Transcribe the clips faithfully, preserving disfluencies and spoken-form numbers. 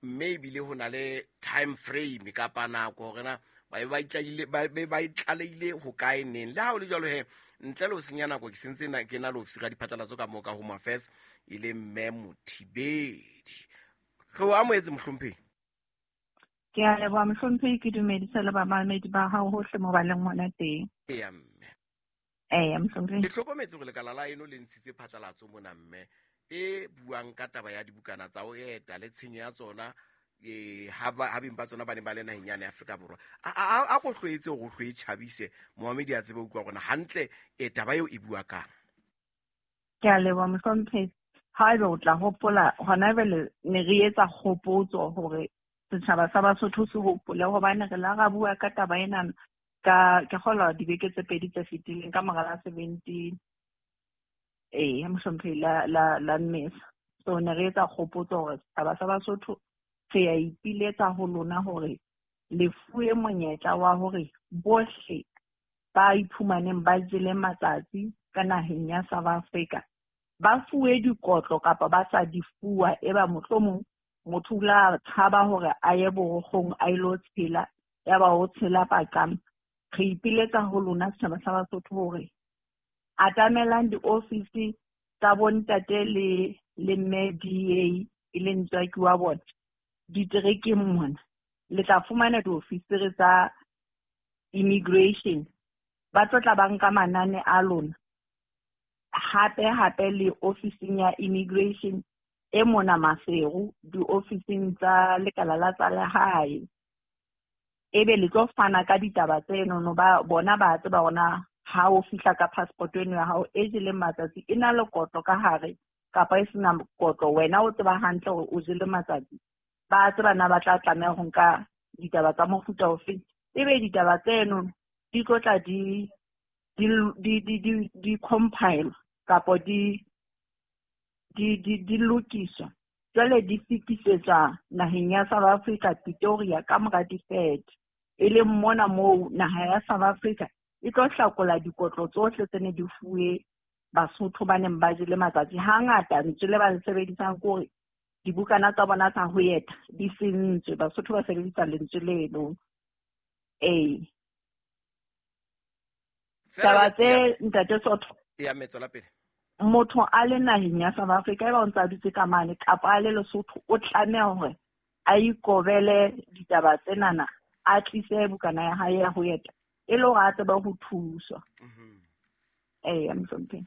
Mme ebile ho na le time frame kapa nako hore na ba be ba itlalehile ba be ba itlaleile ho kae neng. Le ha ho le jwalo he, ntle le ho senya nako, ke sentse na ke na le ofisiri ya diphatlalatso ka moo ka Home Affairs, e le mme Mothibedi. Re o amohetse, mohlomphehi. Ke a leboha, mohlomphehi. Ke dumedise le bamamedi ba hao hohle mo ba leng hona teng. Eya, mme. Eya, mohlomphehi. Ke hlokometse hore lekala la eno le ntshitse phatlalatso mona, mme, e buang ka taba ya dibukana tsa ho eta le tshenyo ya tsona, eh ha ba ha beng ba tsona ba ne ba le naheng yane ya Afrika Borwa. A a a ko hloetse hore o hloe tjhabise momamedi a tsebe ho utlwa rona hantle e taba eo e bua kang. Ke a leboha, mohlomphehi. Haebe o tla hopola, hona jwale ne re etsa kgopotso hore setjhaba sa Basotho se hopole, hobane re la ra bua ka taba ena ka, ke kgolwa, dibeke tse pedi tse fetileng ka mora la seventeen, ee, mohlomphehi, la la la Mmesa. So ne re etsa kgopotso hore setjhaba sa Basotho re ya ipiletsa ho lona hore le fuwe monyetla wa hore bohle ba iphumaneng ba jele matsatsi ka naheng ya South Africa ba fuwe dikotlo kapa ba sa di fuwa. Eba mohlomong motho o la tshaba hore a ye borokgong a ilo tshela, yaba o tshela paqama. Re ipiletsa ho lona setjhaba sa Basotho hore atamelang diofisi tsa bontate le le mme D A, e leng ntswaki wa bona diterekeng mona. Le tla fumana diofisiri tsa immigration, ba tlo tla ba nka manane a lona. Hape hape le ofising ya immigration e mona Maseru, diofising tsa lekala la tsa lehae, ebe le tlo fana ka ditaba tsenono. Ba bona ba tseba hona ha o fihla ka passport eno ya hao e jeleng matsatsi, e na le kotlo ka hare kapa e sena kotlo, wena o tseba hantle hore o jele matsatsi. Ba tseba na ba tla tlameha ho nka ditaba tsa mofuta ofe. Ebe ditaba tseno di tlo tla di di di di di di compile kapa di di di di lokiswa, jwale di fetisetswa naheng ya South Africa, Pretoria, ka mora di-third, e leng mona moo naha ya South Africa e tlo hlakola dikotlo tsohle tse ne di fuwe Basotho ba neng ba jele matsatsi. Hangata lentswe le ba le sebedisang ke hore dibukana tsa bona tsa ho eta di sentswe. Basotho ba sebedisa lentswe leno. Ee, taba tse, ntate Sotho. Ya, mme, tswela pele. Motho a le naheng ya South Africa, eba o ntse a dutse ka mane kapa a le Lesotho, o tlameha hore a ikobele ditaba tsenana, a tlise bukana ya hae ya ho eta e le hore a tsebe ho thuswa. Eya, mohlomphehi.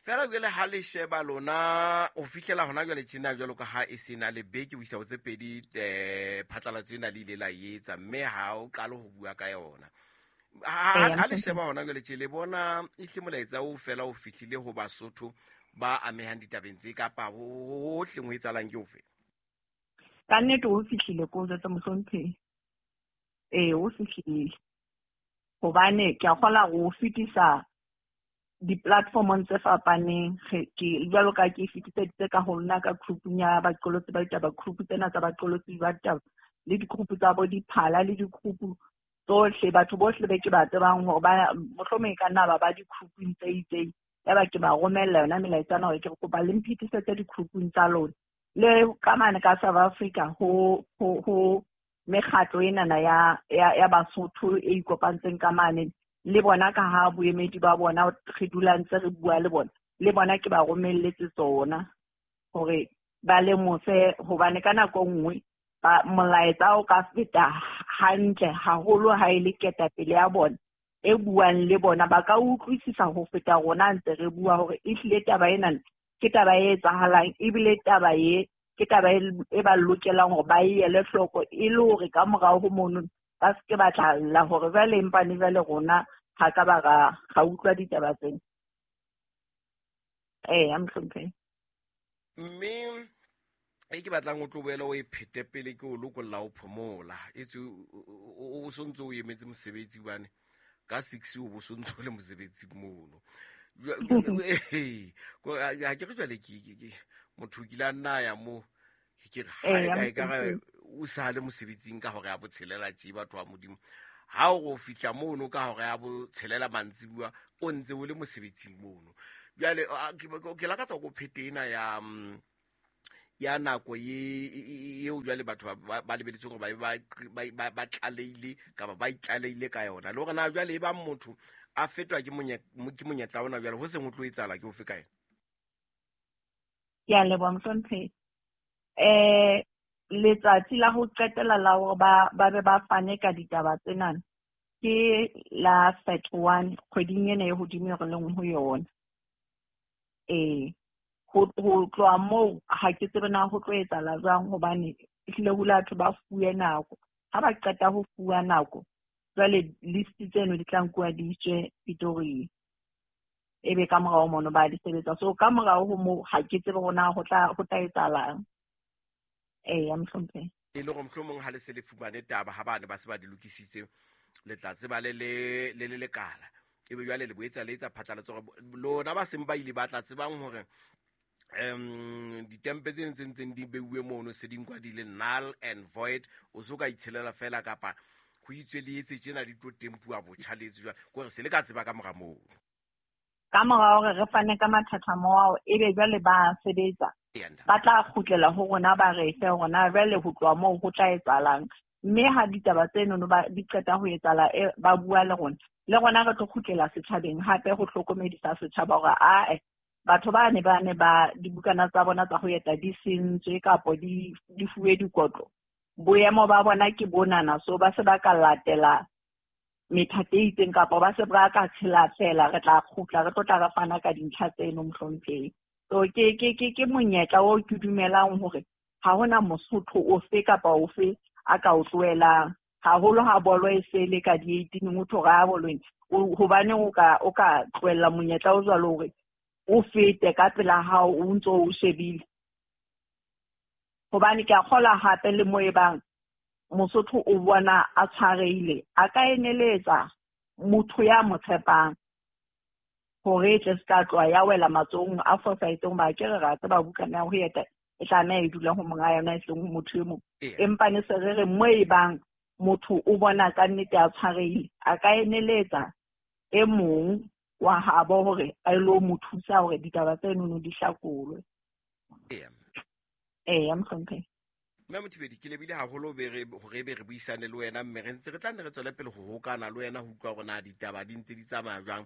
Fela jwale ha le sheba lona ho fihlela hona jwale tjena, jwalo ka ha e se na le beke ho isa ho tse pedi, um phatlalatso ena le ile la etsa, mme ha o qale ho bua ka yona, ha ha le sheba hona jwale tje, le bona ehle molaetsa o fela o fihlile ho Basotho ba amehang ditabeng tse kapa hohle ho etsahalang ke ofe? Ka nnete o fihlile, ko jwetsa, mohlomphehi. Ee, o fihlile, hobane ke a kgola ho fetisa di-platformong tse fapaneng. Ke jwalo ka ke fetiseditse ka ho nna ka group-ung ya baqolotsi ba ditaba, group tsena tsa baqolotsi ba ditaba, le di-group tsa bo diphala, le di-group tsohle, batho bohle be ke ba tsebang hore ba mohlomong e ka nna ba ba di-group-ung tse itseng. Yaba ke ba romella yona melaetsa hore ke re kopa le mphetisetse di-group-ung tsa lona. Le ka mane ka South Africa ho ho ho mekgatlo enana ya ya ya Basotho e ikopantseng ka mane, le bona ka ha boemedi ba bona re dula ntse re bua le bona, le bona ke ba romelletse tsona hore ba lemose, hobane ka nako nngwe ba molaetsa o ka feta hantle haholo ha e le ketapele ya bona e buang le bona, ba ka utlwisisa ho feta rona ntse re bua hore ehlile taba ena ke taba e etsahalang, ebile taba e ke taba e ba lokelang hore ba e ele hloko, e le hore ka morao ho mono ba se ke ba tla lla hore jwale empane jwale rona ha ka ba ra ra utlwa ditaba tsena. Eya, mohlomphehi. Mme e ke batlang o tlo boela o e phete pele ke o lokolla o phomola, etswe o sontse o emetse mosebetsi, bane ka six o bo sontse o le mosebetsi mono. Ha ke re jwale ke motho o kile a nna ya mo, ke re ha e ka ka o sa le mosebetsing ka hore ya botshelela tje, batho ba Modimo, ha o go fihla mono ka hore ya botshelela mantsibuya o ntse o le mosebetsing mono. Jwale ke lakatsa go phete ena ya ya nako ye eo jwale batho ba ba lebeletse hore ba ba ba tlaleile kapa ba itlaleile ka yona le hore na jwale e ba motho a fetwa ke ke monyetla ona jwale ho seng ho tlo etsahala ke ofe kae? Ke a leboha mohlomphehi. Eh letsatsi la ho qetela la hore ba ba be ba fane ka ditaba tsena ke la thirty-one kgweding ena e hodimo re leng ho yona. Eh ho ho tloha moo ha ke tsebe na ho tlo etsahala jwang hobane ehlile ho batho ba fuwe nako. Ha ba qeta ho fuwa nako jwale list tseno di tla nkuwa di iswe Pretoria. Ebe ka morao mono ba di sebetsa. So ka morao ho moo ha ke tsebe hore na ho tla ho tla etsahalang. Eh ya mohlomphehi. E le hore mohlomong ha le se le fumane taba ha bane ba se ba di lokisitse le tla tseba le le le le lekala. Ebe jwale le boetsa le etsa phatlalatso hore lona ba seng ba ile ba tla tsebang hore um ditempe tse ntseng ntseng di beuwe mono se di nkwa di le null and void o so ka itshelela fela kapa ho itswe le etse tjena di tlo tempuwa botjha le etse jwang kore se le ka tseba ka mora moo. Ka mora hore re fane ka mathathamo ao ebe jwale ba sebetsa ba tla kgutlela ho rona ba re fe hore jwale ho tloha moo ho tla etsahalang. Mme ha ditaba tseno ba di qeta ho etsahala ba bua le rona le rona re tlo kgutlela setjhabeng hape ho hlokomedisa setjhaba hore ae batho ba ne ba ne ba dibukana tsa bona tsa ho eta di sentswe kapo di di fuwe dikotlo boemo ba bona ke bonana so ba se ba ka latela methati e itseng kapa ba se ba ka tshela fela re tla kgutla re tlo tla re fana ka dintlha tseno mohlomphehi. So ke ke ke ke monyetla o ke dumelang hore ha hona Mosotho ofe kapa ofe a ka o tlohelang haholo ha bolo e sele ka di eighteen o tho ra bolong hobane o ka o ka tlohella monyetla o jwalo hore o fete ka pela hao o ntso o shebile. Hobane ke a kgola hape le mo e bang Mosotho o bona a tshwareile a ka eneletsa motho ya mo tshepang hore e tle se ka tloha ya wela matsohong a fosahetseng ba ke re ra tseba bukana ya ho eta e tlameha e dula ho monga yona e seng ho motho e mong. Empa ne se re re mo e bang motho o bona ka nnete a tshwareile a ka eneletsa e mong wa habo hore a ilo mo thusa hore ditaba tseno di hlakolwe. Eh ya mohlomphehi. Mme Mothibedi ke lebile haholo be re hore be re buisane le wena mme re ntse re tla nne re tswele pele ho hokana le wena ho utlwa hore na ditaba di ntse di tsamaya jwang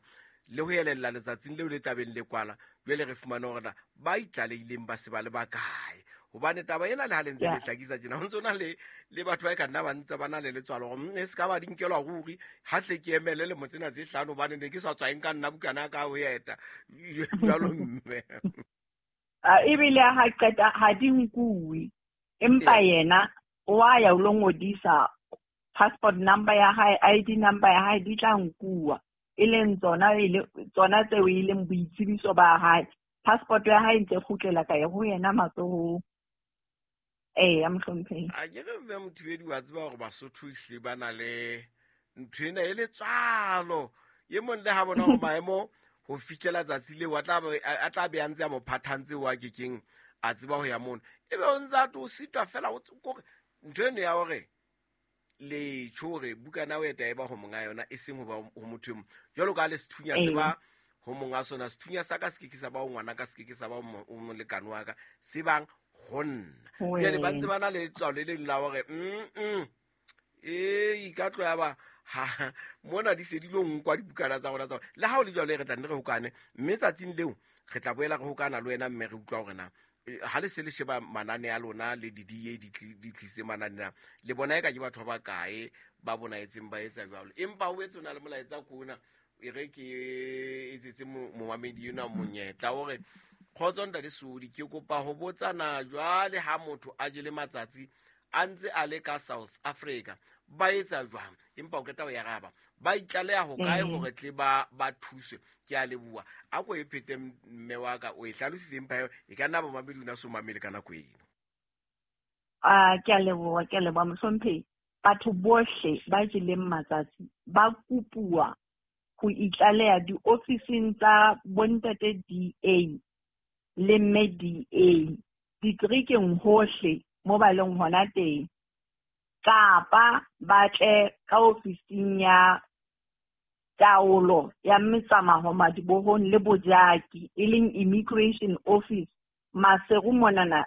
le ho elella letsatsing leo le tlabeng le kwala jwale re fumane hore na ba itlaleileng ba se ba le bakae hobane taba ena le ha le ntse le hlakisa tjena ho ntse na le le batho ba ka nna ba ntse ba na le letswalo hore e se ka ba di nkelwa ruri ha hle ke emele le motsena tse hlano hobane ne ke sa tswaeng ka nna bukana ka ho eta jwalo mme a ebile ha qeta ha di nkuwe empa yena wa ya o lo ngodisa passport number ya hae I D number ya hae di tla nkuwa e leng tsona e tsona tseo e leng boitsebiso ba hae passport ya hae ntse kgutlela ka ho yena matsohong. Eh ya mohlomphehi. A ke re mme Mothibedi wa tseba hore Basotho ehlile ba na le ntho ena e letswalo e mong le ha bona hore maemo ho fihlela tsatsi leo a tla a tla be a ntse a mo phathantse wa kekeng a tseba ho ya mono ebe o ntse a to sitwa fela kore ntho eno ya hore le tjho hore bukana o eta e ba ho monga yona e seng ho ba ho motho e mong jwalo ka le sethunya se ba ho monga sona sethunya sa ka se ke ke sa ba ho ngwana ka se ke ke sa ba ho molekane wa ka se bang ho nna jwale ba ntse ba na le letswalo le leng la hore mm e ka tlo ya ba ha mona di se di lo nkwa dibukana tsa rona tsa le ha o le jwalo re tla nne re hokane mme tsatsing leo re tla boela re hokana le wena mme re utlwa hore na ha le se le sheba manane a lona le di D A di tlise manane a le bona e ka ke batho ba bakae ba bonaetseng ba etsa jwalo empa o etse o na le molaetsa kona e re ke etsetse momamedi ena monyetla hore kgotso ntate Sodi ke kopa ho botsana jwale ha motho a jele matsatsi a ntse a le ka South Africa ba etsa jwang empa o qeta ho araba ba itlaleha ho kae hore tle ba ba thuswe ke a leboha a ko e phete mme wa ka o e hlalositse empa e ka nna bomamedi una so mamele ka nako eno. A ke a leboha ke a leboha mohlomphehi. Batho bohle ba jeleng matsatsi ba kopuwa ho itlaleha diofising tsa bontate D A le mme D A ditrikeng hohle mo ba leng hona teng kapa ba tle ka ofising ya taolo ya metsamao madibohong le bojaki e leng immigration office Maseru monana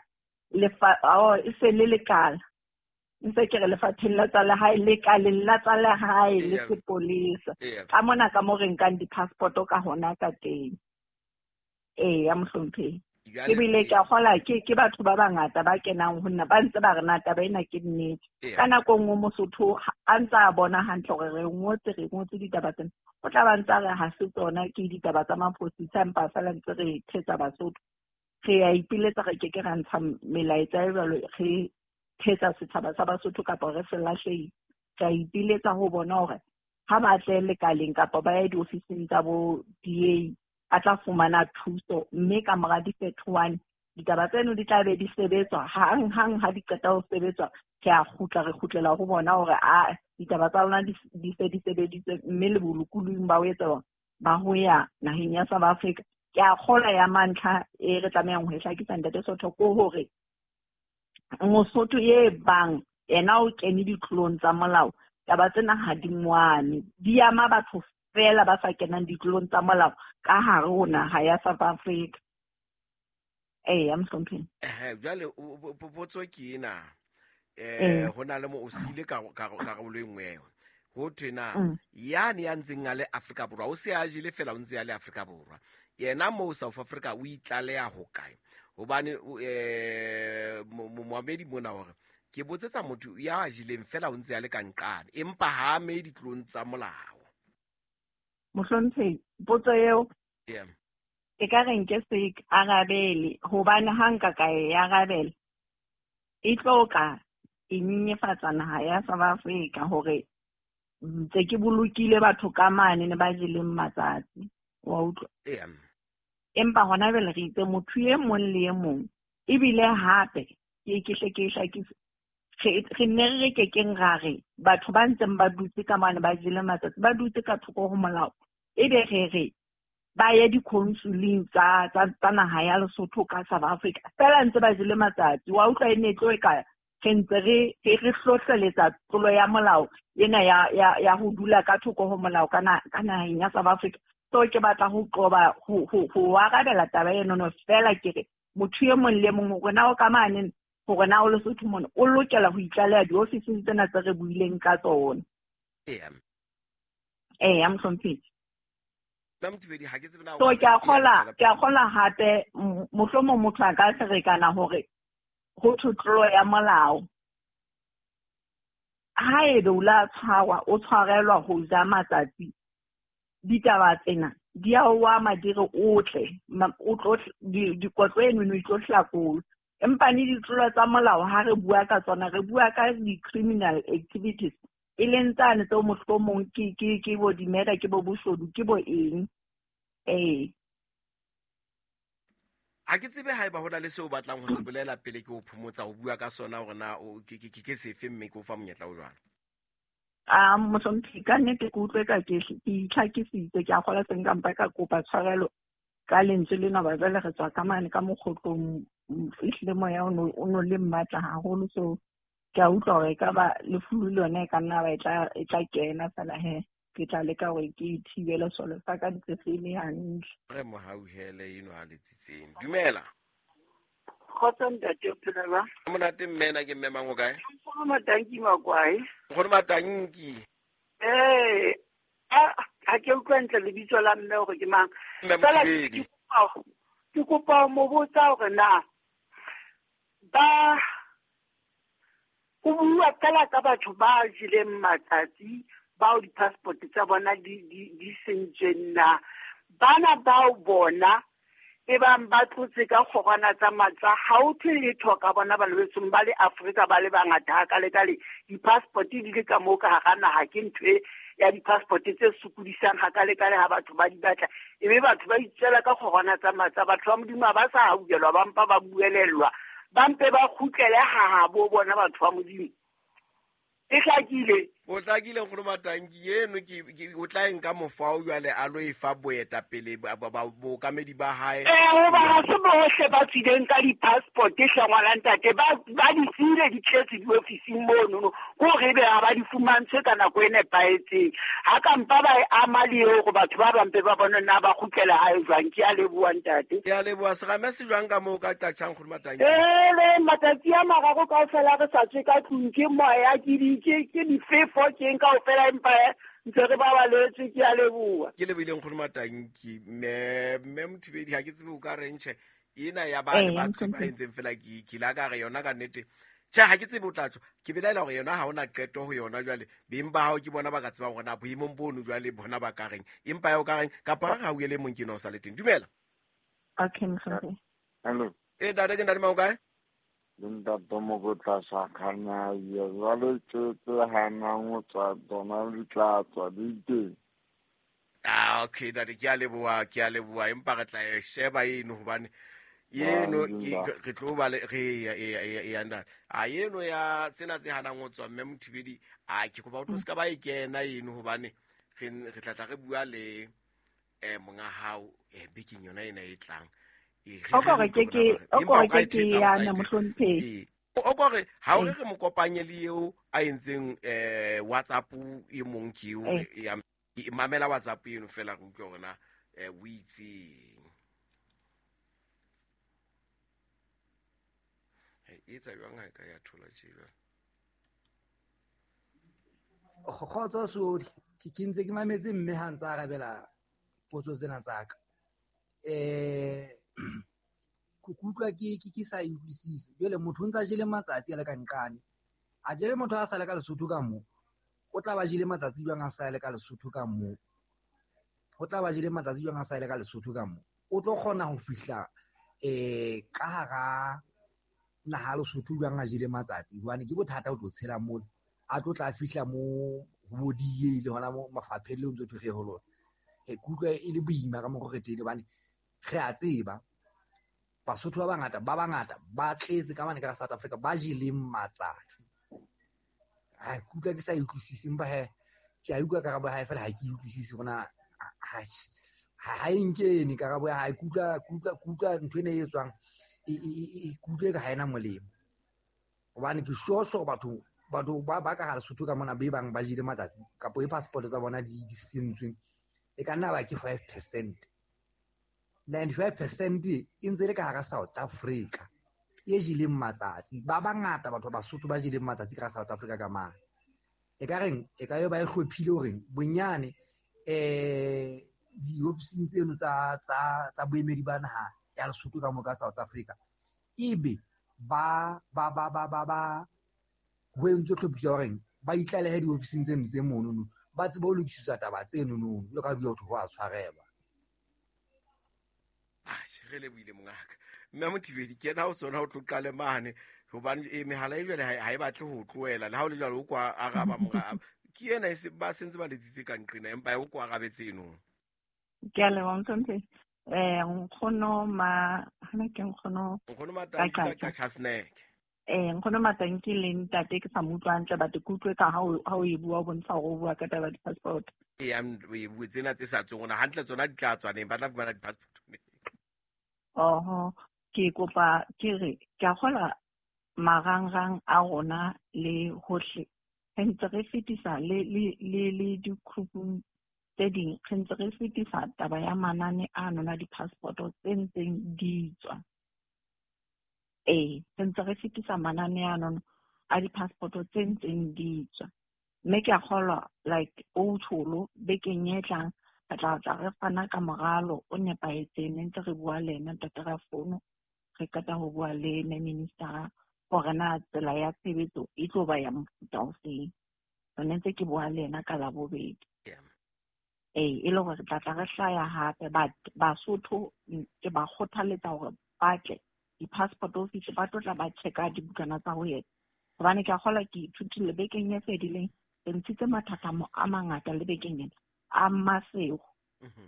lefa oh e se le lekala ntse ke re lefapheng la tsa lehae lekaleng la tsa lehae le sepolesa ka mona ka mo re nkang di-passport ka hona ka teng. Eya mohlomphehi. Ebile ke a kgola ke ke batho ba bangata ba kenang ho nna ba ntse ba re na taba ena ke nnete. Ka nako nngwe Mosotho a ntse a bona hantle hore re ngotse re ngotse ditaba tsena, o tla ba ntse a re ha se tsona ke ditaba tsa maphodisa empa feela ntse re thetsa Basotho. Re a ipiletsa re ke ke ra ntsha melaetsa e jwalo re thetsa setjhaba sa Basotho kapa re se lahlehile. Re a ipiletsa ho bona hore ha ba tle lekaleng kapa ba ye diofising tsa bo D A a tla fumana thuso, mme ka mora di-thirty-one ditaba tseno di tla be di sebetswa hang hang ha di qeta ho sebetswa ke a kgutla re kgutlela ho bona hore a ditaba tsa lona di se di sebeditswe mme le bolokolohing ba ho etsa ba ho ya naheng ya South Africa. Ke a kgolwa ya mantlha e re tlamehang ho e hlakisa ntate Sotho ko hore Mosotho e bang yena o kene ditlolong tsa molao, taba tsena ha di moame, di ama batho fela ba sa kenang ditlolong tsa molao ka hare ho naha ya South Africa. Eya mohlomphehi. Eh jwale potso ke ena eh ho na le mo o sile ka karolo e nngwe eo ho thwe na yane ya ntseng a le Afrika Borwa o se a jele fela o ntse a le Afrika Borwa yena mo South Africa o itlaleha ho kae? Hobane eh moamedi mona hore ke botsetsa motho ya jileng fela o ntse a le ka nqane empa ha ame ditlolong tsa molao. Mohlomphehi, potso eo yeah e ka re nke se arabele hobane ha nka ka e arabela e tlo ka e nyenyefatsa naha ya South Africa hore ntse ke bolokile batho ka mane ne ba jeleng matsatsi wa utlwa. Yeah. Empa hona jwale re itse motho e mong le e mong ebile hape ke ke hle ke hlakise re nne re ke keng ra re batho ba ntseng ba dutse ka mane ba jele matsatsi ba dutse ka thoko ho molao ebe re re ba ye di-consuleng tsa tsa naha ya Lesotho ka South Africa fela ntse ba jele matsatsi wa utlwa e ne tlo e ka re ntse re re hlohleletsa tlolo ya molao ena ya ya ya ho dula ka thoko ho molao ka ka naheng ya South Africa. So ke batla ho qoba ho ho ho arabela taba eno no fela ke re motho e mong le mong hore na o ka mane hore na o Lesotho mona o lokela ho itlaleha diofising tsena tse re buileng ka tsona. Eya. Eya mohlomphehi. So ke a kgola ke a kgola hape mohlomong motho a ka ferekana hore ho thwe tlolo ya molao haebe o la tshwarwa o tshwarelwa ho ja matsatsi ditaba tsena di a o ama di re o tle o tlo dikotlo eno e tlo hlakolwa. Empa ne ditlolo tsa molao ha re bua ka tsona re bua ka di-criminal activities e leng tsane tseo mohlomong ke ke ke bo di-murder ke bo boshodu ke bo eng. Ee. Ha ke tsebe haeba ho na le seo o batlang ho se bolela pele ke o phomotsa ho bua ka sona hore na ke ke ke sefe mme ke o fa monyetla o jwalo. Ah mohlomphehi ka nnete ke utlwe ka ke ke itlhakisitse ke a kgola se nka mpa ka kopa tshwarelo ka lentswe lena ba jwale re tswa ka mane ka mokgotlong ehlile moya o no le mmatla haholo so ke a utlwa hore e ka ba lefulu le yona e ka nna ba e tla e tla kena fela he ke tla leka hore ke thibele solo sa ka ntse se le hantle. Re mohauhele eno ha letsitseng. Dumela. Kgotso ntate o phela jwang? Monate mme na ke mme mang o kae? Nkgono Matanki Makwae. Nkgono Matanki. Eh, ha ke utlwa ntle lebitso la mme hore ke mang. Mme Mothibedi. Ke kopa mo botsa hore na ba ho bua fela ka batho ba jeleng matsatsi bao di-passport tsa bona di di di sentsweng na bana bao bona e bang ba tlotse ka kgorwana tsa matsa ha o thwe letho ka bona ba lebetsong ba le Afrika ba le bangata hakalekale di-passport di le ka moo ka hara naha ke ntho e ya di-passport tse sokodisang hakalekale ha batho ba di batla ebe batho ba itswela ka kgorwana tsa matsa batho ba Modimo ha ba sa hauhelwa ba mpa ba buelellwa ba mpe ba kgutlele hahabo bona batho ba Modimo. E hlakile. O hlakile nkgono Matanki eno ke o tla nka mofao jwale a lo e fa boetapele bookamedi ba hae. Eh hoba ha se bohle ba tswileng ka di-passport hle ngwana ntate, ba ba di tsile di tletse diofising mono, ko re be ha ba di fumantshwe ka nako e nepahetseng. Ha ka mpa ba e ama le eo hore batho ba bang ba bone na ba kgutlela hae jwang. Ke a leboha ntate. Ke a leboha. Serame se jwang ka moo ka qatjhang nkgono Matanki? Eh le matsatsi a mararo kaofela re sa tswe ka tlung, ke moya ke di ke ke difefo ke nka ofela empa ntse re ba baletswe. Ke a leboha. Ke lebohile nkgono Matanki. Mme mme Mothibedi ha ke tsebe o ka reng tjhe ena ya ba ba ba entseng fela ke ke la ka re yona ka nnete. Tjhe ha ke tsebe o tla tswa. Ke belaela hore yona ha ona qeto ho yona jwale. Beng ba hao ke bona ba ka tsebang hore na boemong bono jwale bona ba ka reng. Empa ya o ka reng kapa ha o ele mong ke no sa le teng. Dumela. Okay mhlongo. Hello. Eh ntate ke ntate mang o kae? Ntate Mokotla sa khanya ya jwale tse tse hanang ho tswa tsona di tla tswa di teng. Ah okay ntate ke a leboha, ke a leboha empa re tla e sheba eno hobane eno ke re tlo ba le re ya ya ya ntate. A eno ya tsena tse hanang ho tswa mme Mothibedi a ke kopa o tlo ska ba e kena eno hobane re re tla tla re bua le eh monga hao eh bekeng yona ena e tlang. O kore ke ke o kore ke ke ya na mohlomphehi. O kore ha o re re mo kopanye le eo a entseng eh WhatsApp e mong ke eo ya mamela WhatsApp eno fela re utlwe hore na eh o itseng. E etsa jwang ha e ka ya thola tje jwang? Kgotso sohle, ke ntse ke mametse mme ha ntse a arabela potso tsena tsa ka. Eh ke utlwa ke ke sa utlwisise. Jwale motho o ntse a jele matsatsi a le ka nqane. A jele motho a sa le ka Lesotho ka moo. O tla ba jele matsatsi jwang a sa le ka Lesotho ka moo. O tla ba jele matsatsi jwang a sa le ka Lesotho ka moo. O tlo kgona ho fihla eh ka hara naha Lesotho jwang a jele matsatsi hobane ke bothata o tlo tshela moo. A tlo tla fihla mo ho bodiye le hona mo mafapheng le ntse thwe ho lona. E kutlwa e le boima ka mo re teng hobane re a tseba Basotho ba bangata ba bangata ba tletse ka mane ka South Africa ba jeleng matsatsi. Ha ke utlwa ke sa utlwisise empa he ke a utlwa karabo ya hae fela ha ke utlwisise hore ha ha e nkene karabo ya hae. Ke utlwa ke utlwa ke utlwa ntho ena e etswang e e kutlwe ka ha ena molemo. Hobane ke sure sure batho batho ba ba ka hara Lesotho ka mona be bang ba jele matsatsi kapo e passport tsa bona di di sentswe e ka nna ba ke five percent. ninety-five percent e ntse le ka hara South Africa e jeleng matsatsi. Ba bangata batho ba Basotho ba jeleng matsatsi ka South Africa ka mane. E ka reng e ka yo ba e hlophile hore bonyane eh diofising tseno tsa tsa tsa boemedi ba naha ya Lesotho ka mo ka South Africa ebe ba ba ba ba ba ba ho entswe tlhophiso ya hore ba itlalehe diofising tseno tse mono ba tsebe ho lokiswa taba tseno no le ka bua ho a tshwarelwa. Ah re lebohile mongaka. Mme Mothibedi ke yena o tsona o tlo qale mane hobane e mehala e jwale ha e batle ho tlohela le ha o le jwalo o kwa araba monga ke yena e se ba sentse ba letsitse ka nqena empa o kwa arabetse eno. Ke a leboha mhlonphehi. Eh nkgono ma hana ke nkgono nkgono Matanki ka Chasnek. Eh nkgono Matanki le ntate ke sa mo utlwa hantle but ke utlwe ka ha o ha o e bua o bontsha hore o bua ka taba ya di-passport. E am we tsena tse sa tsweng hona hantle tsona di tla tswa neng ba tla fumana di-passport neng. Oho ke kopa ke re ke a kgola marangrang a rona le hohle re ntse re fetisa le le le le di-groupung tse ding re ntse re fetisa taba ya manane a nona di-passport tse ntseng di tswa. Ee re ntse re fetisa manane a nona a di-passport tse ntseng di tswa mme ke a kgolwa like o tsholo bekeng e tlang re tla tla re fana ka moralo o nepahetseng ne ntse re bua le ena ntate ra fono re qeta ho bua le minister hore na tsela ya tshebetso e tlo ba ya mofuta o feng. Re ne ntse ke bua le ena ka Labobedi. Ee e le hore re tla tla re hlaya hape but Basotho ke ba kgothaletsa hore ba tle di-passport office ba tlo tla ba checka dibukana tsa ho eta hobane ke a kgolwa ke ithutile bekeng e fedileng re ntshitse mathathamo a mangata le bekeng ena a Masego.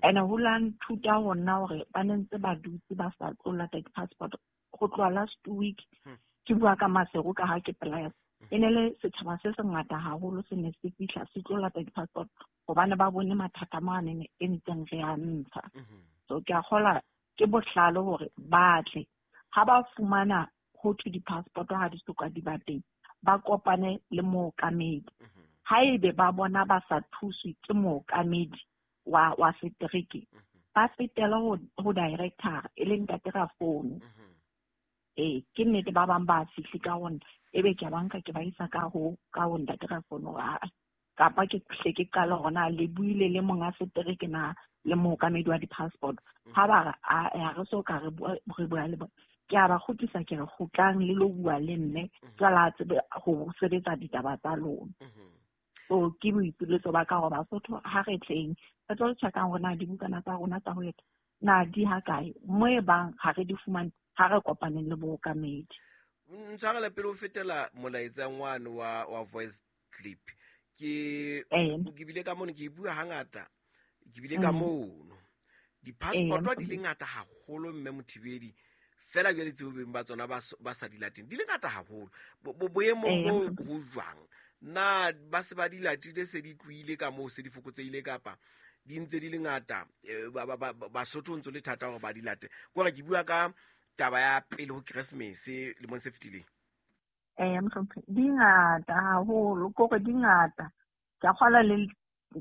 Ene ho la nthuta ho nna hore ba ne ntse ba dutse ba sa tlo lata di-passport go tloha last week ke bua ka Masego ka ha ke pela ya E ne le setjhaba se sengata haholo se ne se fihla se tlo lata di-passport hobane ba bone mathata mane e ntseng re a ntsha. So ke a kgola ke bohlale hore ba tle ha ba fumana ho thwe di-passport ha di soka di ba teng, ba kopane le mookamedi. Haebe ba bona ba sa thuswe ke mookamedi wa wa setereke, ba fetela ho ho director e leng ntate Rafono. Eh ke nnete ba bang ba fihle ka hona, ebe ke a banka ke ba isa ka ho ka ho ntate Rafono a kapa ke hle ke qala hona le buile le monga setereke na le mookamedi wa di-passport. Ha ba re a re so ka re bua re bua le bona, ke a ba kgutlisa ke re kgutlang le lo bua le mme jwale a tsebe ho sebetsa ditaba tsa lona. So ke boipiletso ba ka hore Basotho ha re tleng re tlo check-ang hore na dibukana tsa rona tsa ho eta na di ha kae, mo e bang ha re di fumane ha re kopaneng le bookamedi. Ntshwarele pele o fetela molaetsang wane wa wa voice clip. Ke ke bile ka mono ke bua hangata, ke bile ka mono di-passport di le ngata haholo mme Mothibedi fela jwale tseo beng ba tsona ba sa di lateng di le ngata haholo. Boemong bo ho jwang na ba se ba di latile se di tlohile ka moo se di fokotsehile kapa di ntse di le ngata Basotho ntso le thata hore ba di late? Ke hore ke bua ka taba ya pele ho Keresemese lemong se fetileng. Eh mohlomphehi, di ngata haholo, kore di ngata. Ke a kgolwa le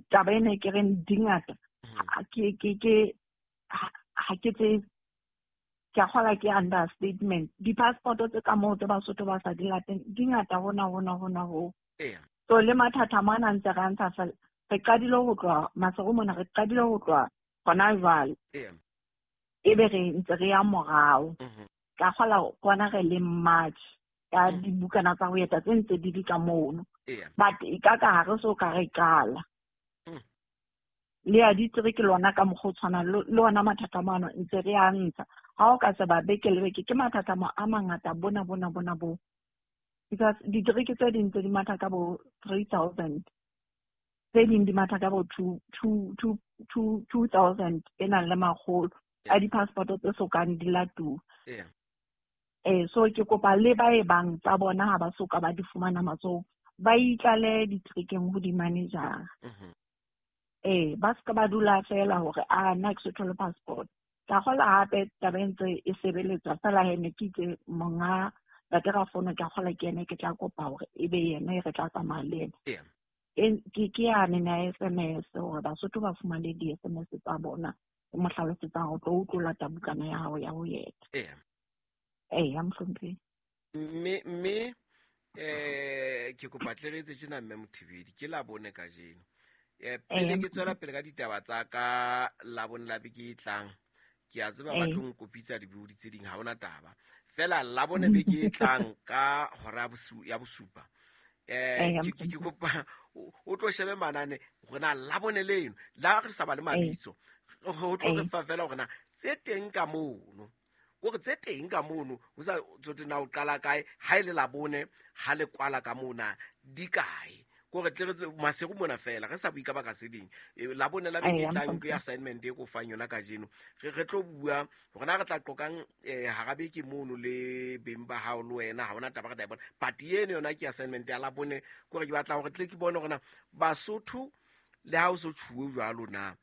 taba ena ke reng di ngata. Ke ke ke ha ke tse ke a kgolwa ke understatement. Di-passport tse ka moo tse Basotho ba sa di lateng di ngata hona hona hona ho. So le mathata mana ntse re ntsha fela re qadile ho tloha Maseru mona, re qadile ho tloha hona jwale. Ebe re ntse re ya morao. Ka kgola kwana re le March ka dibukana tsa ho eta tse ntse di di ka mono. But e ka ka ha re so ka re qala. Le ya ditereke lona ka mokgwa o tshwanang le ona mathata mano ntse re a ntsha. Ha o ka se ba beke le beke ke mathata a mangata bona bona bona bo. Because ditereke tse ding tse di matha ka bo three thousand, tse ding di matha ka bo two two two two two thousand e nang le makgolo a di-passport tse sokang di latuwa. Eh so ke kopa le ba e bang tsa bona ha ba soka ba di fumana matsohong ba itlale diterekeng ho di-manager. Eh ba ska ba dula fela hore a nna ke se thole passport. Ka kgola hape taba e ntse e sebeletswa fela he ne ke itse monga Ntate Rafono ke a kgola ke ene ke tla kopa hore ebe yena e re tla tsamaya le ena. Ke ke yane na S M S hore Basotho ba fumane di-S M S tsa bona o mo hlalosetsang hore tlo o tlo lata bukana ya hao ya ho eta. Eya mohlomphehi. Mme mme eh ke kopa tle re etse tjena mme Mothibedi ke Labone kajeno. Eh pele ke tswela pele ka ditaba tsa ka Labone la beke e tlang. Ke a tseba ba tlo nkopitsa dibuodi tse ding ha hona taba. Fela Labone beke e tlang ka hora ya bosupa. Eh ke ke kopa o tlo shebe manane hore na Labone leno la re sa ba le mabitso. Ho tlo re fa fela hore na tse teng ka mono. Kore tse teng ka mono ho sa tsote na o qala kae ha ile Labone ha le kwala ka mona di kae. Kore tle re Maseru mona fela re sa bue ka baka se ding. Labone la beke e tlang ke assignment e ko fang yona kajeno. Re re tlo bua hore na re tla qoqang hara beke mono le beng ba hao le wena ha hona taba re tla e bona. But eno yona ke assignment ya Labone kore ke batla hore tle ke bone hore na Basotho le ha o so tshuwe jwalo na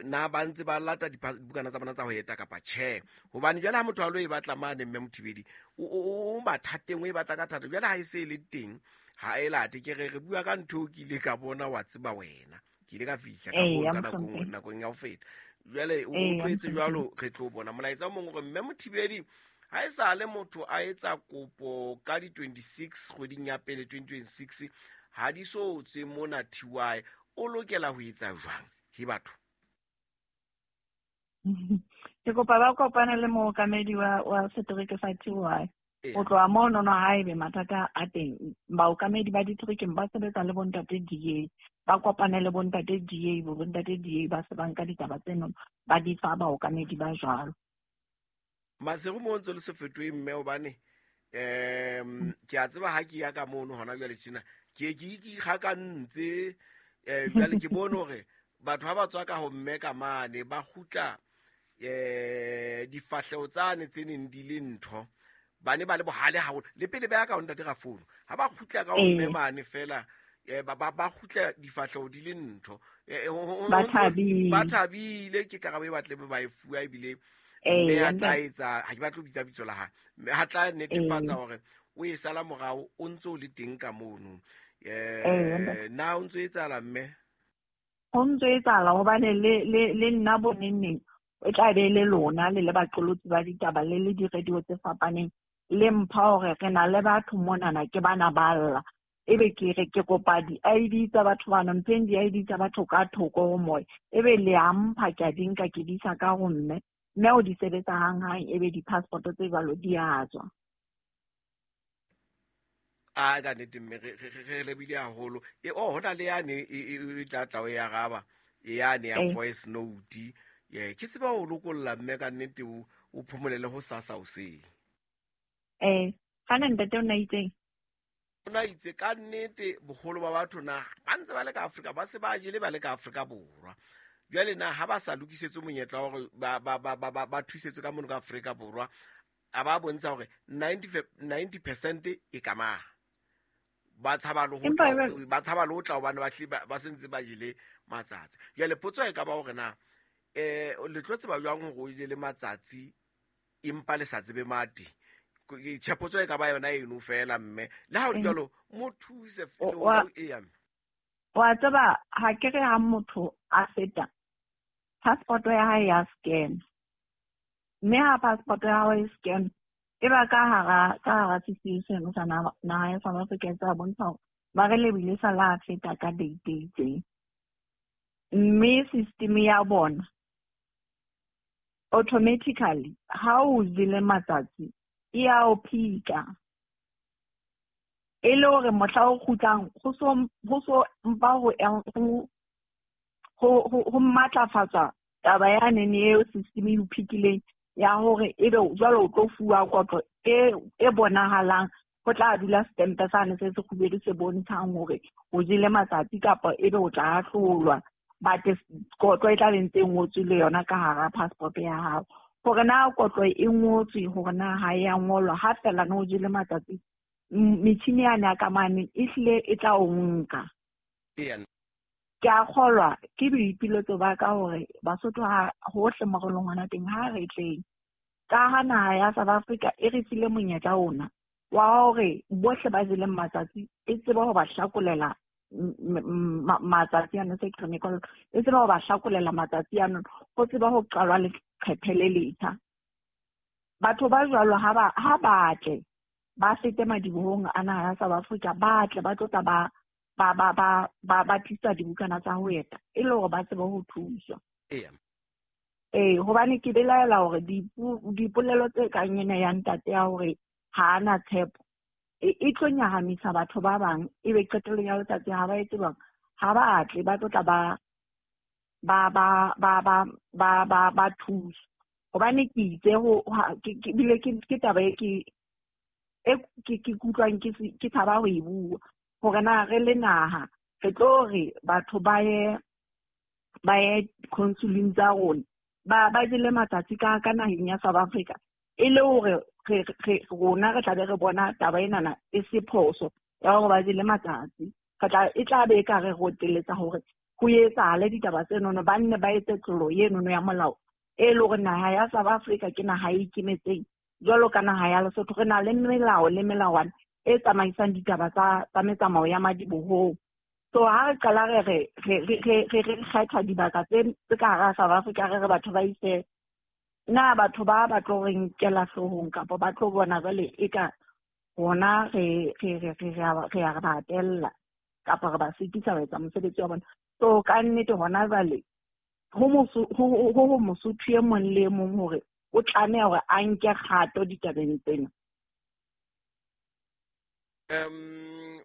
na ba ntse ba lata dibukana tsa bona tsa ho eta kapa tjhe. Hobane jwale ha motho a lo e batla mane mme Mothibedi o o mathateng o e batla ka thata jwale ha e se le teng ha e late ke re re bua ka ntho ke ile ka bona wa tseba wena ke ile ka fihla ka bona nakong nakong ya ho feta jwale o tlwetse jwalo re tlo bona molaetsa o mongwe gore mme Mothibedi ha e sa le motho a etsa kopo ka di twenty-six kgweding ya pele twenty twenty-six ha di so tswe mona T Y o lokela ho etsa jwang he batho? Ke kopa ba kopane le mookamedi wa wa setereke sa T Y. O tloha mono no haebe mathata a teng baokamedi ba diterekeng ba sebetsa le bontate D A, ba kopane le bontate D A, bo bontate D A ba se ba nka ditaba tseno ba di fa baokamedi ba jwalo. Maseru mo ntse le se fetohe mme hobane um ke a tseba ha ke ya ka mono hona jwale tjena ke ke ikgakantse eh jwale ke bone hore batho ha ba tswa ka ho mme ka mane ba kgutla eh difahleho tsane tse neng di le ntho ba ne ba le bohale haholo le pele ba ya ka ho ntate Rafono ha ba kgutla ka ho mme mane fela ba ba ba kgutla difahleho di le ntho ba thabile ba thabile ke karabo e batle ba e fuwa ebile mme a tla etsa ha ke batle ho bitsa bitso la hae mme ha tla netefatsa hore o e sala morao o ntse o le teng ka mono eh na o ntse etsahala mme ho ntse etsahala hobane le le le nna bo neng e tla be le lona le le baqolotsi ba ditaba le le di-radio tse fapaneng le mpha hore re na le batho monana ke bana ba lla ebe ke re ke kopa di-I D tsa batho bana mpheng di-I D tsa batho ka thoko ho moya ebe le a mpha ke a di nka ke di isa ka ho mme mme o di sebetsa hanghang ebe di-passport tse jwalo di a tswa. A ka nnete mme re re lebile haholo e oh hona le yane e tla tla o e araba e yane ya voice note ye ke tseba o lokolla mme ka nnete o o phomolele ho sasa o seng eh kana ntate o na itseng o na itse ka nnete boholo ba batho na ba ntse ba le ka Afrika ba se ba jele ba le ka Afrika Borwa jwale na ha ba sa lokisetse monyetla hore ba ba ba ba ba thusetswe ka mono ka Afrika Borwa a ba bontsha hore ninety percent e ka ma ba tshaba le ho ba tshaba le ho tla hobane ba tle ba sentse ba jele matsatsi jwale potso e ka ba hore na eh le tlo tseba jwang hore o jele matsatsi empa le sa tsebe mati tshepotso e ka ba yona eno fela mme le ha o le jwalo mo thuse le e ya wa tseba ha ke re ha motho a feta passport ya hae ya scan mme ha passport ya hae scan e ba ka hara ka hara system seno sa naha ya South Africa tsa bontsha hore ba re lebile sa la feta ka date e itseng mme system ya bona automatically ha o jele matsatsi e a o phika e le hore mohla o kgutlang ho so ho so mpa ho ho ho matlafatsa taba ya nene eo system e o phikileng ya hore ebe jwale o tlo fuwa kotlo e e bonahalang ho tla dula stempe sane se se kgubedu se bontshang hore o jele matsatsi kapa ebe o tla ahlolwa but kotlo e tla be ntse e ngotswe le yona ka hara passport ya hao hore na kotlo e ngotswe hore na ha e a ngolwa ha fela no jele matsatsi metjhini yane ya ka mane e hlile e tla o nka. Ke a kgolwa ke boipiletso ba ka hore Basotho ha hohle mo re leng hona teng ha re tleng ka ha naha ya South Africa e re file monyetla ona wa hore bohle ba jeleng matsatsi e tsebe ho ba hlakolela matsatsi ano se ke re e tsebe ho ba hlakolela matsatsi ano ho tsebe ho qalwa leqephe le letjha. Batho ba jwalo ha ba ha ba tle ba fete madibohong a naha ya South Africa ba tle ba tlo tla ba ba ba ba ba ba tlisa dibukana tsa ho eta e le hore ba tsebe ho thuswa. Eh hobane ke belaela hore dipolelo tse kang ena ya ntate ya hore ha ana tshepo e tlo nyahamisa batho ba bang ebe qetellong ya letsatsi ha ba etse bang ha ba tle ba tlo tla ba ba ba ba ba ba ba ba thusa hobane ke itse ho ke bile ke ke taba e ke e ke ke kutlwang ke ke tshaba ho e bua hore na re le naha re tlo re batho ba ye ba ye consuleng tsa rona ba ba jele matsatsi ka ka naheng ya South Africa e le hore re re rona re tla be re bona taba enana e se phoso ya hore ba jele matsatsi re tla e tla be e ka re roteletsa hore ho etsahale ditaba tse nono ba nne ba etse tlolo enono ya molao e le hore naha ya South Africa ke naha e ikemetseng jwalo ka naha ya Lesotho re na le melao le melawana e tsamaisang ditaba tsa tsa metsamao ya madibohong. So ha re qala re re re re re re kgetha dibaka tse tse ka hara South Africa re re batho ba ise na batho ba ba tlo re nkela hloohong kapa ba tlo bona jwale e ka rona re re re re re a re ba hatella kapa re ba sitisa ho etsa mosebetsi wa bona. So ka nnete hona jwale ho ho Mosotho e mong le e mong hore o tlameha hore a nke kgato ditabeng tsena. Um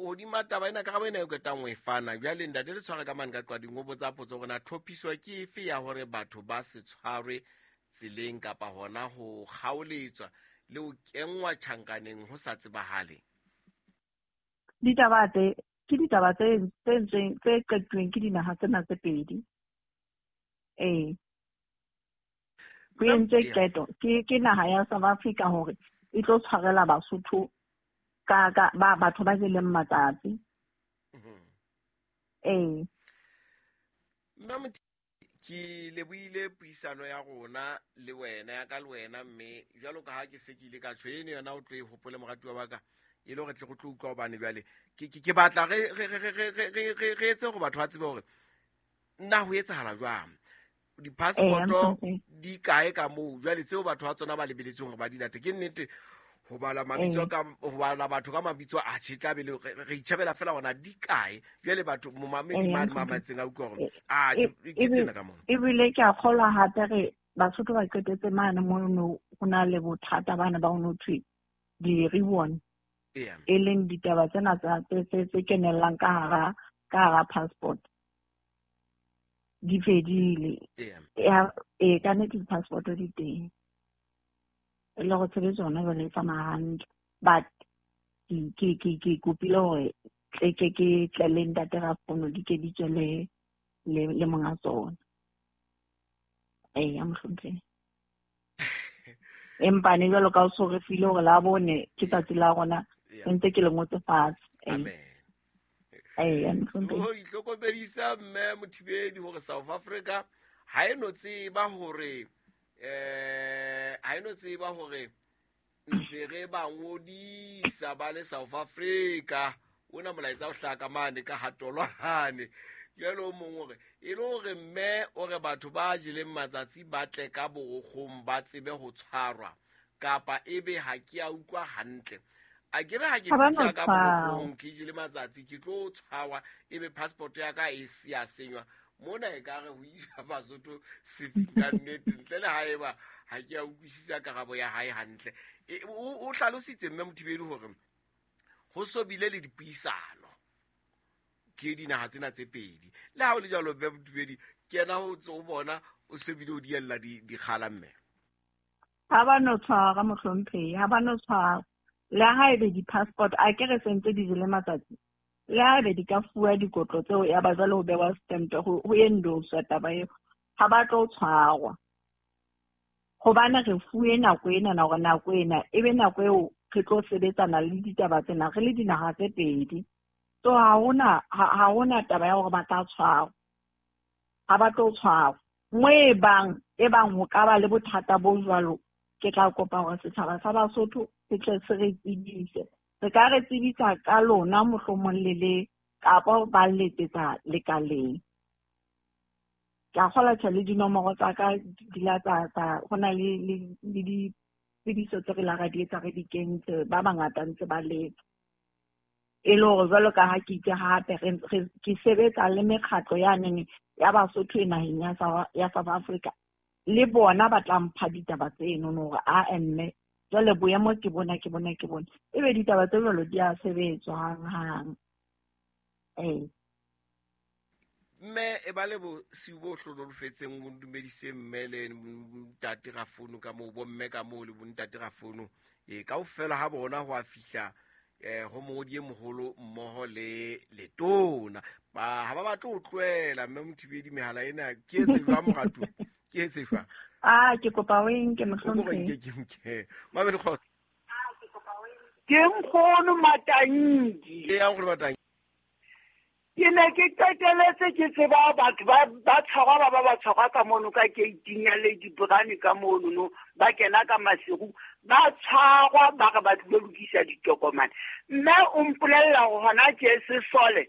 hodima taba ena karabo ena e qetang ho e fana jwale ntate le tshware ka mane ka qwading o botsa potso hore na tlhophiso ke efe ya hore batho ba se tshwarwe tseleng kapa hona ho kgaoletswa le ho kenngwa tjhankaneng ho sa tsebahale. Ditaba tse ke ditaba tse tse tse qetuweng ke dinaha tsena tse pedi. Eh ho entswe qeto ke ke naha ya South Africa hore e tlo tshwarela Basotho ka ka ba batho ba jeleng matsatsi. Ee. Mma ke lebohile puisano ya rona le wena ya ka le wena, mme jwalo ka ha ke se ke ile ka tjho eno yona o tlo e hopole moratuwa wa ka, e le hore tle go tlo utlwa hobane jwale ke ke batla re re re re re re etse hore batho ba tsebe hore nna ho etsahala jwang, di-passport di kae ka moo jwale tseo batho ba tsona ba lebeletseng hore ba di late. Ke nnete ho bala mabitso ka ho bala batho ka mabitso a tjhe tla be le re itjhebela fela hona di kae jwale batho momamedi mane mamatseng a utlwa hore a ke tsena ka mona. Ebile ke a kgolwa hape re Basotho ba qetetse mane mono ho na le bothata bana ba ho no thwe di-ribbon, e leng ditaba tsena tsa tse tse kenellang ka hara ka hara passport di fedile. E ka nnete di-passport di teng, e le go tshebetso yona jwale e tsamaya hantle, but ke ke ke kopile hore tle ke ke tle le ntate Rafono di ke di tswe le le le monga tsona. Ee, mohlomphehi. Empa ne jwalo ka o so re file hore la bone ke tsatsi la rona, ntse ke le ngotse fatshe. Amen. Ee, mohlomphehi. So itlhokomedisa mme Mothibedi hore South Africa ha e no tseba hore eh ha eno tseba hore ntse re ba ngodisa ba le South Africa, ona molaetsa o hlaka mane ka hatolwane jwale o mong hore e le hore mme o re batho ba jeleng matsatsi ba tle ka borokgong ba tsebe ho tshwarwa, kapa ebe ha ke a utlwa hantle. A ke re ha ke fihla ka borokgong ke jele matsatsi ke tlo tshwarwa, ebe passport ya ka e se ya senywa mona e ka re ho isa Basotho sefing ka nnete ntle le haeba ha ke a utlwisisa karabo ya hae hantle. O hlalositse mme Mothibedi hore ho so bile le dipuisano ke dinaha tsena tse pedi. Le ha o le jwalo mme Mothibedi ke yena ho tso bona o se bile o diella dikgala mme. Ha ba no tshwara mohlomphehi, ha ba no tshwara. Le haebe di-passport a ke re sentse di jele matsatsi, le haebe di ka fuwa dikotlo tseo ya ba jwale ho bewa stamp ho endoswa taba eo, ha ba tlo tshwarwa. Hobane re fuwe nako ena na hore nako ena ebe nako eo re tlo sebetsana le ditaba tsena re le dinaha tse pedi. So ha hona ha hona taba ya hore ba tla tshwarwa, ha ba tlo tshwarwa. Mo e bang e bang ho ka ba le bothata bo jwalo, ke tla kopa hore setjhaba sa Basotho se tle se re tsebise. Re ka re tsebisa ka lona mohlomong le le kapa ba letsetsa lekaleng. Ke a kgolwa tjhe le dinomoro tsa ka di la tsa tsa ho na le le ditsebiso tse re la ra di etsa re di kentse, ba bangata ntse ba letsa. E le hore jwalo ka ha ke itse hape re ke sebetsa le mekgatlo ya nene ya Basotho e naheng ya ya South Africa, le bona ba tla mpha ditaba tseno hore a mme jwale boemo ke bona ke bona ke bona, ebe ditaba tse jwalo di a sebetswa hanghang. Ee. Mme e ba le bosiu bo hlonolofetseng, o dumedise mme le ntate Rafono ka moo, bomme ka moo le bontate Rafono. E kaofela ha bona ho a fihla eh ho mongodi e moholo mmoho le letona. Ba ha ba batle ho tlohela mme Mothibedi mehala ena ke etse jwang moratuwa? Ke etse jwang? Ah, ke kopa o nke mohlomphehi. Ke ke nke. Mamedi kgotso. Ke nkgono Matangi. E ya nkgono Matangi. Ke ne ke qeteletse ke tseba batho ba ba tshwarwa ba ba ba tshwarwa ka mono ka gate-ing ya Lady Brand ka mono no, ba kena ka masiru ba tshwarwa ba re ba tlilo lokisa ditokomane. Mme o mpolella hore hona tje sesole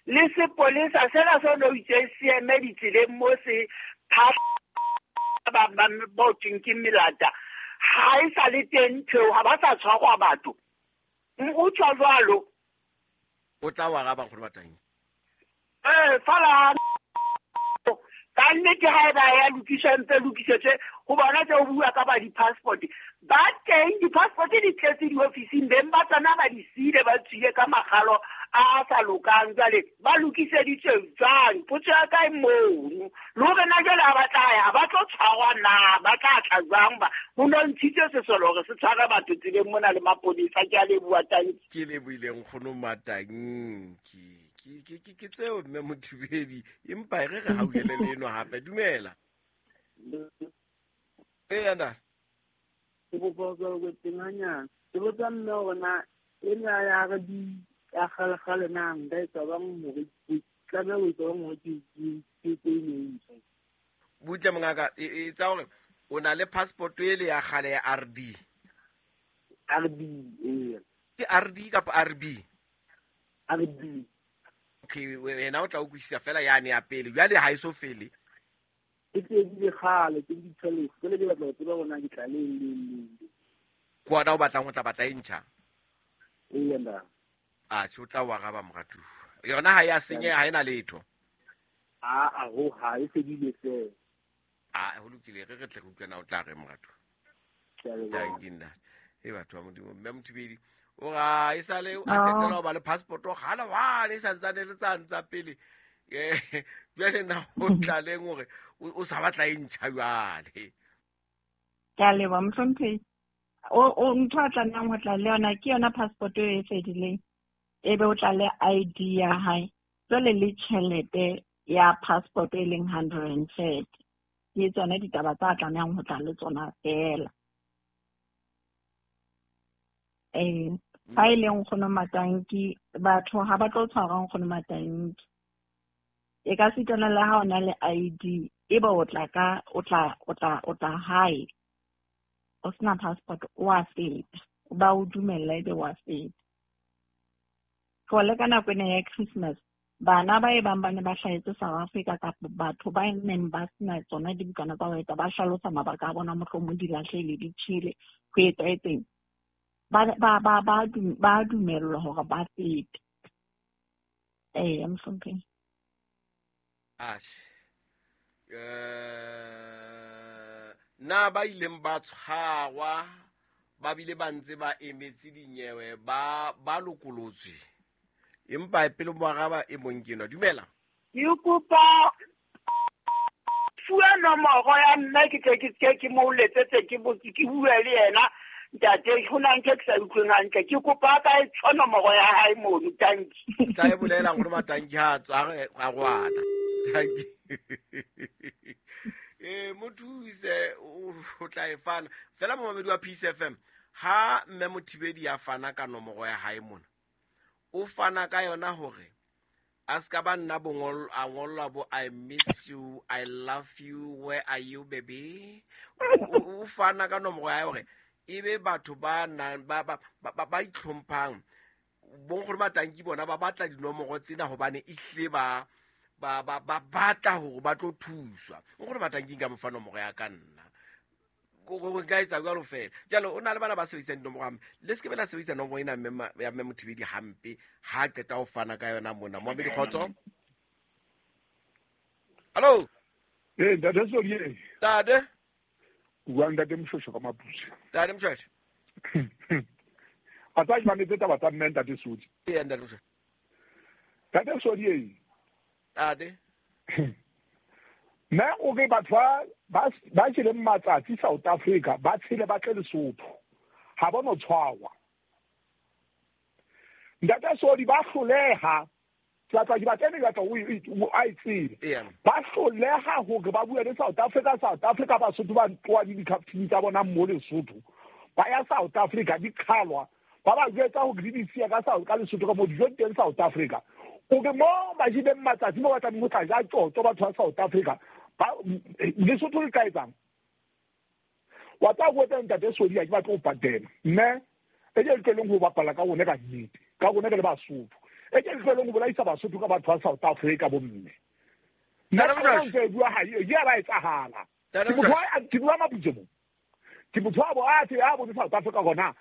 le sepolesa sena se no itse se eme ditseleng mo se ba ba ba thweng ke melata, ha e sa le teng ntho, ha ba sa tshwarwa batho. O tjho jwalo. O tla wa araba nkgono Matangi. Eh, fala ka nnete ha eba ya lokiswa mpe lokisetswe ho bona tse o bua ka ba di-passport ba teng, di-passport di tletse diofising, beng ba tsona ba di siile ba tswile ka makgalo a sa lokang. Jwale ba lokiseditswe jwang? Potso ya kae mono? Le hore na jwale ha ba tla ya ba tlo tshwarwa na, ba tla tla jwang? Ba ho no ntshitse sesole hore se tshware batho tseleng mona le maponesa. Ke a leboha, tanki. Ke lebohile nkgono Matanki. Ke ke ke tseo mme Mothibedi, empa re re hauhele le eno hape. Dumela. Ee, ntate. Ke kopa ho tswela teng hanyane. Ke botsa mme hore na ena ya R D ya kgale-kgale na nka etsa bang hore ke tlameha ho etsa bang hore ke ke ke e ntjha. Butle mongaka, e etsa hore o na le passport ele ya kgale ya R D. R D, ee. Ke R D kapa R B? R D. Okay, wena o tla utlwisisa fela yane ya pele. Jwale ha e so fele. E fedile kgale, ke di tshwele. Jwale ke batla ho tseba hore na ke tla leng leng leng. Ke wena o batlang ho tla batla e ntjha? Ee, nda. Ah, tjhe, o tla o araba moratuwa. Yona ha ya senyeha, ha ena letho. Ah, ah, ho ha e fedile fela. Ah, ho lokile, re re tle re utlwe na o tla re moratuwa. Thank you, nna. E batho ba Modimo, mme Mothibedi o ra e sale a qetela ho ba le passport o kgale wane e santsane le tsa ntsa pele. Eh, jwale na o tlaleng hore o sa batla e ntjha jwale. Ke a leboha mohlomphehi. O o ntho a tlamehang ho tla le yona ke yona passport e fedileng. Ebe o tla le I D ya hae. Jwale le tjhelete ya passport e leng hundred and thirty. Ke tsona ditaba tsa tlamehang ho tla le tsona fela. Eh, ha e le nkgono Matanki, batho ha ba tlo tshwara nkgono Matanki. E ka sitana le ha o na le I D, ebe o tla ka o tla o tla o tla hae. O sena passport o a feta. Ba o dumella ebe wa feta. For le ka nako ena ya Christmas, bana ba e bang ba ne ba hlahetse South Africa kapa batho ba neng ba sena tsona dibukana tsa ho eta ba hlalosa mabaka a bona mohlomong di lahlehile di tjhele ho etsahetseng. Ba ba ba ba ba dumellwa hore ba fete. Eh, mohlompheng. Atjhe. Eh, na ba ileng ba tshwarwa ba bile ba ntse ba emetse dinyewe ba ba lokolotswe. Empa pele mo araba e mong ke nwa. Dumela. Ke kopa fuwa nomoro ya mme ke tle ke ke ke mo letsetse ke botse ke bue le yena. Ntate, ho na ntho ke sa utlweng hantle. Ke kopa ka e tsho nomoro ya hae mono, tanki. Tla e bolela nkgono Matanki ha tswa a rwana. Tanki. Eh, mothuse o tla e fana. Fela momamedi wa Peace F M, ha mme Mothibedi ya fana ka nomoro ya hae mona, o fana ka yona hore a ska ba nna bongol a ngollwa bo I miss you, I love you, where are you baby? O fana ka nomoro ya hae hore ebe batho ba nang ba ba ba itlhomphang bonkgono Matanki bona ba batla dinomoro tsena hobane ehle ba ba ba ba batla hore ba tlo thuswa. Nkgono Matanki nka mo fa nomoro ya ka nna. Go nka etsa jwalo fela. Jwale o na le bana ba sebedisang dinomoro hampe. Le se ke be la sebedisa nomoro ena mme ya mme Mothibedi hampe ha qeta ho fana ka yona mona. Moamedi kgotso. Hello. Eh, ntate Solie. Ntate. Bua ntate Mshosho ka Maputse. Ntate Mshosho. A tsa mametse taba tsa mme ntate Sodi. Ee, ntate Mshosho. Ntate Sodi. Ntate. Nna o re batho ba ba tshele matsatsi South Africa ba tshele ba tle Lesotho. Ha ba no tshwarwa. Ntate Sodi ba hloleha. Tla tla ke batla ne batla o a itsebe. Ba hloleha hore ba bue le South Africa, South Africa Basotho ba tloa di dikaptini tsa bona mo Lesotho. Ba ya South Africa di qhalwa. Ba ba jwetsa hore di di siya ka South ka Lesotho ka mo dijo teng South Africa. O ke mo ba jileng matsatsi mo batlang ho tla ja tjotjo batho ba South Africa. Ba Lesotho le ka etsang. Wa tla go etsa ntate Sodi a ke batla ho patela. Mme e ke tlohelleng ho bapala ka rona ka nnete. Ka rona re le Basotho. E ke tlohelleng ho bolaisa Basotho ka batho ba South Africa bomme. Nna ke bua ha e ya ba etsahala. Ke motho a ke bua Maputse mo. Ke motho a bo a tse a bone South Africa gona.